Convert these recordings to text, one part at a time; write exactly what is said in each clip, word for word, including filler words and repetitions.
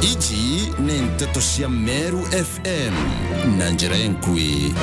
Iji ni nteto cia Meru F M na njira enkui.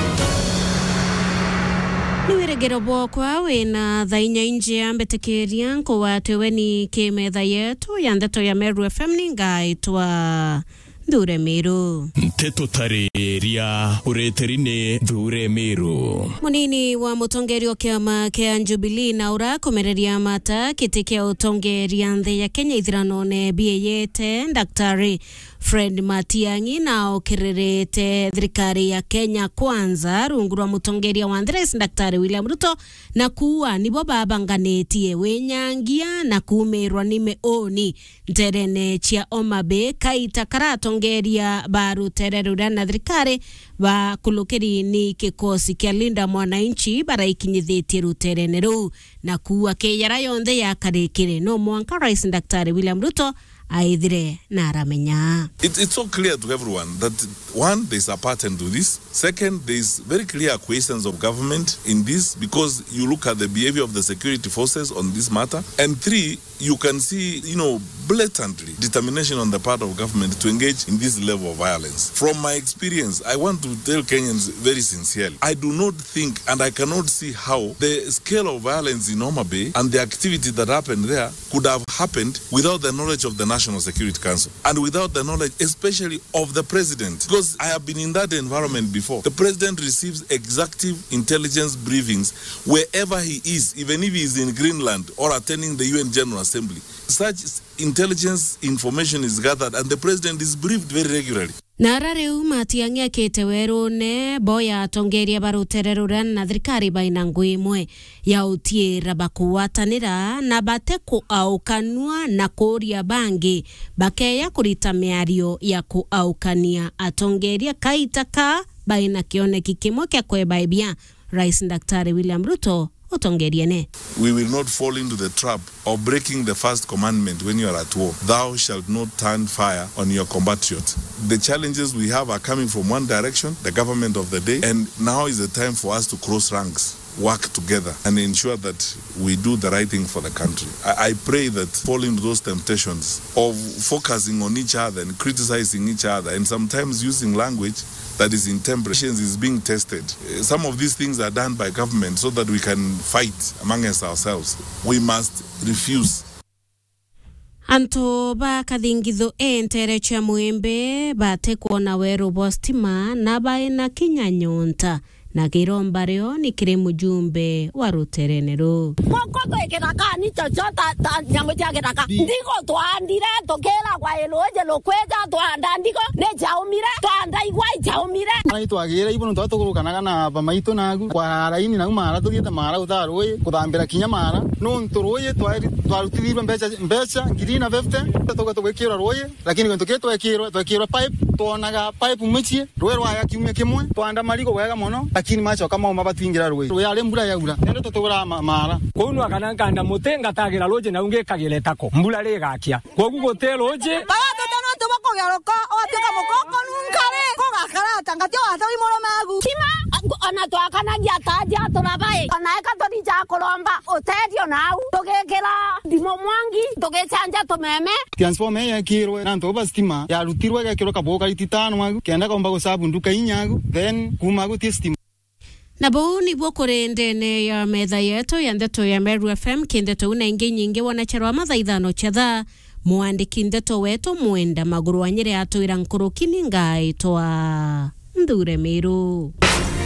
Ni wirigiro bwokwa wina thaa inya injia mbitikiria nkugwate ugeni ki metha yetu ya nteto ya Meru F M, ni ngaitwa Nthure Miru. Nteto tariria ureteri ni Nthure Miru. Munini wa mutongeria o kiama kia Jubilee na urakomereria mata kiti kia utongeria nthi ya Kenya ithiranone bieyete, Daktari Fred Matiang'i, na okererete thirikari ya Kenya Kwanza rungu rwa mutongeria wa nthi, Rais Daktari William Ruto, na kuua nibo babanganitie winyangia na kuumirwa ni miuni nterene cia Homa Bay, kaita kara atongeria ba rutere ruria na thirikari bakulukiri ni kikosi kia Linda Mwananchi baraikinyithitie ruterene ruu, na kuua ki yara yonthe yakarikire. No mwanka Rais Daktari William Ruto aithire na aramenya. It, it's so clear to everyone that, one, there's a pattern to this. Second, there's very clear acquiescence of government in this, because you look at the behavior of the security forces on this matter. And three, you can see, you know, blatantly determination on the part of government to engage in this level of violence. From my experience, I want to tell Kenyans very sincerely, I do not think and I cannot see how the scale of violence in Homa Bay and the activity that happened there could have happened without the knowledge of the National Security Council and without the knowledge, especially of the president, because I have been in that environment before. The president receives executive intelligence briefings wherever he is, even if he is in Greenland or attending the U N General Assembly. Such intelligence information is gathered and the president is briefed very regularly. Na ara riu Matiang'i akite werune, boya atongeria ba rutere ruria na thirikari baina ngui imwe ya utiira bakugwatanira na bate kuaukanua na kuuria bangi bakeya kurita miario ya kuaukania atongeria kaita ka baina kioneki kimwe kia kwebaibia Rais Daktari William Ruto utongeriene. We will not fall into the trap of breaking the first commandment when you are at war. "Thou shalt not turn fire on your compatriot." The challenges we have are coming from one direction, the government of the day, and now is the time for us to cross ranks, work together, and ensure that we do the right thing for the country. I, I pray that fall into those temptations of focusing on each other and criticizing each other and sometimes using language that is intemperate. Patience is being tested. Eh, some of these things are done by government so that we can fight amongst ourselves. We must refuse. Antu ba Kathingithu e ntere cia Mwimbi bate kwona weru bwa stima na baina kinya nyonta. Na kiromba rio ni kiri mujumbe wa ruterene ruu. Guku twi kithakani, chocho ta, ta nyamu cia githaka. Ndigo twaandire, tukiragwa i ruuji rukwija, twaanda ndigo ni jaumire, twaanda igwa ijaumire. Ara itwagire ibu nontu tugurukanaga na bamaitu nagu, kwa raini nau mara, tuthiite mara gutaa ruuji, kuthambira kinya mara. Nontu ruuji twari-, twarutithirwe mbeca, mbeca ngiri na fifty, tuga tugwikirwa ruuji, lakini gintu kii twekirwe, twekirwe pipe, twonaga pipe mucii, ruuji rwaya kiumia kimwe, twaanda marigo bwega mono, lakini macoka mauma batwingira ruuji. Ruuji ari mbura yaura, nende tutugura ma-, mara. Kwou nwakana nkanda muti ngatagira ruuji nau ngikagira itako, mbura rigakia. Kwogu guti ruuji. Baba tuti nontu bwa kugeruka, watuika mukoko nunkari, kugakara ata ngati watawi murume agu. Kima, ona twakanagia ta atia turabai, ona eka tuthi ja kuromba uteethio nau, tugikira ndimo mwangi, tugicanja tumeme. Transformer ii yekirwe na antu ba stima, yarutirwe igekirwa kabugu kari titano agu, kenda kaumba gusabu nduka inya agu, then kuuma agu ti stima. Na buu nibuo kuri ndene ya metha yetu ya ndeto ya Meru F M, ki ndeto iu na ingi nyingi wanacherwa mathaa ithano cia thaa. Mwandiki ndeto wetu Mwenda Maguru wa Nyeri atwira nkuruki ni ngaitwa Nthure Miru.